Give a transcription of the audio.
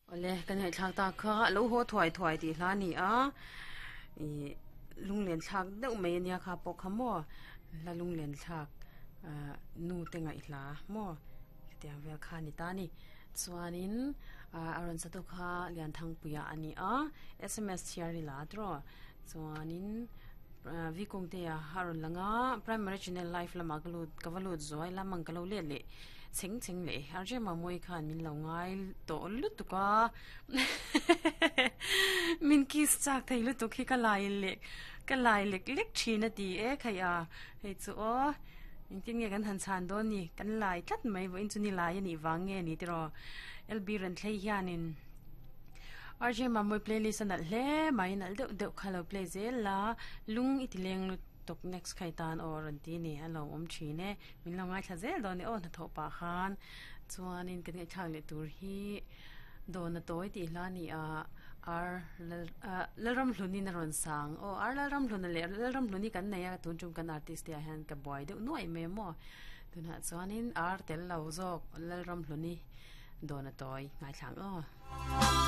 Awle, kan ngaihthlak tak kha a lo haw thuai thuai tih hla a ni a, ih lunglen thlak deuh mai ania kha pawh kha maw hla lunglen thlak ah nu te ngaihhla maw hetiang vel kha a ni ta a ni. Chuanin ah a rawn sa tu kha Lianthangpuia a ni a, sms chhiar ila tawh chuanin ah V Kungtea a rawn lang a, Primary Channel live lamah ka lut ka va lut zuai lamang ka lo let leh. Chheng chheng leh RJ Mamawii khan min lo ngai tawh lutuk a min kiss chak thei lutuk hi ka lai leh ka lai lek lek thin a ti e khai a hei chu aw engtin nge kan han chhan dawn ni kan lai tlat mai vawiin chu ni lai a nih vang nge ni tiraw LB Renthlei hianin RJ Mamawii playlist a nalh hle mai nalh deuh deuh kha lo play zel la lung i ti leng lutuk next khai tan aw a rawn ti a ni a lo awm thin e. Min lo ngaithla zel dawn e aw hnathawh pah khan chuanin kan ngaihthlak leh tur hi dawna tawi tih hla a ni a ar lal ah Lalramhlunin a rawn sang aw ar Lalramhluna leh Lalramhluni kan nei a tun tum kan artist te ah hian ka buai deuh nuaih mai a maw tunah chuanin ar tel lo zawk Lalramhluni dawna tawi ngaithla ang aw.